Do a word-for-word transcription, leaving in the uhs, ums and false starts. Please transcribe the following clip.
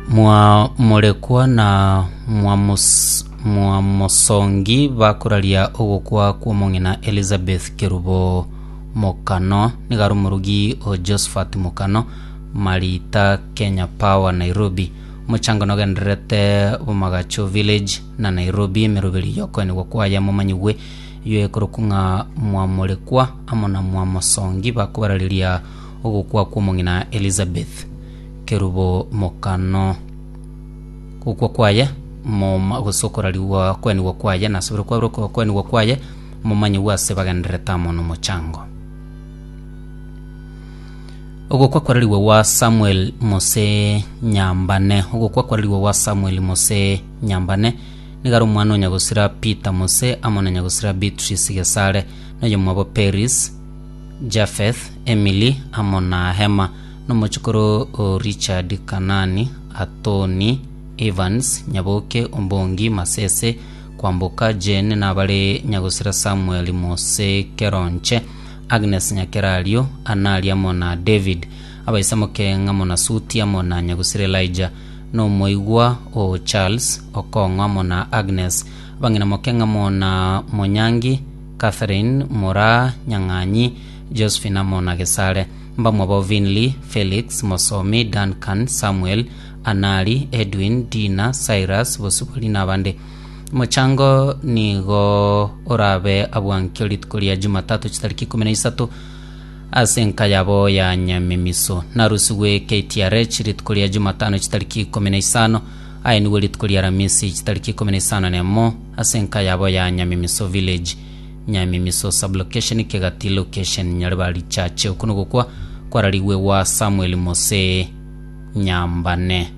Mwa morekwa na mwamos, mwamosongi bakoraria ogokwa kw'omong'ina Elizabeth Kerubo Mokano, nigo are omorugi o Josephat Mokano, Marita Kenya Power Nairobi. Omochango nogendererete Bomagacho Village na Nairobi, emeroberi yokoenigwa kwaye momanyigwe iyo ekorokwa ng'a mwamorekwa amo na mwamosongi bakobarareria ogokwa kw'omong'ina Elizabeth Kerubo Mokano. Gokwa kwaye moma gose okorariwa kwenigwa kwaye nasobere kwabere kwenigwa kwaye momanyigwe ase bagendererete amo nomochango. Ogokwa kwarariwe gwa Samuel Mose Nyambane, ogokwa kwarariwe gwa Samuel Mose Nyambane, nigo are omwana o nyagosira Peter Mose amo na nyagosira Beatrice Gesare, na oyomwabo Peris, Japheth, Emily amo na Hema, na omochokoro o Richard Kanani, Atoni, Evans, Nyaboke, Ombongi, Masese, Kwamboka, Jane, nabare nyagosira Samuel Mose Keronche, Agnes Nyakerario, Anari amo na David, abaisa moke amo na Suti amo na nyagosira Elijah, na omoigwa o Charles Okong'o amo na Agnes, abang'ina moke amo na Monyangi, Catherine, Moraa, Nyang'anyi, Josephine amo na Gesare, mbamwabo Vinley, Felix, Mosomi, Duncan, Samuel, Anari, Edwin, Dina, Cyrus, Bosibori na abande. Omochango nigo orabe abwankio rituko ria Jumatatu chitariki ikomi na isato ase enka yabo ya Nyamemiso. Narusigwe K T R H rituko ria Jumatano chitariki ikomi na isano, aye nigo rituko ria Aramisi chitariki ikomi na isano nemo ase enka yabo ya Nyamemiso Village, Nyamemiso sublocation, Kegati location, Nyaribari Chache. Oko nogokwa kwararigwe gwa Samuel Mose Nyambane.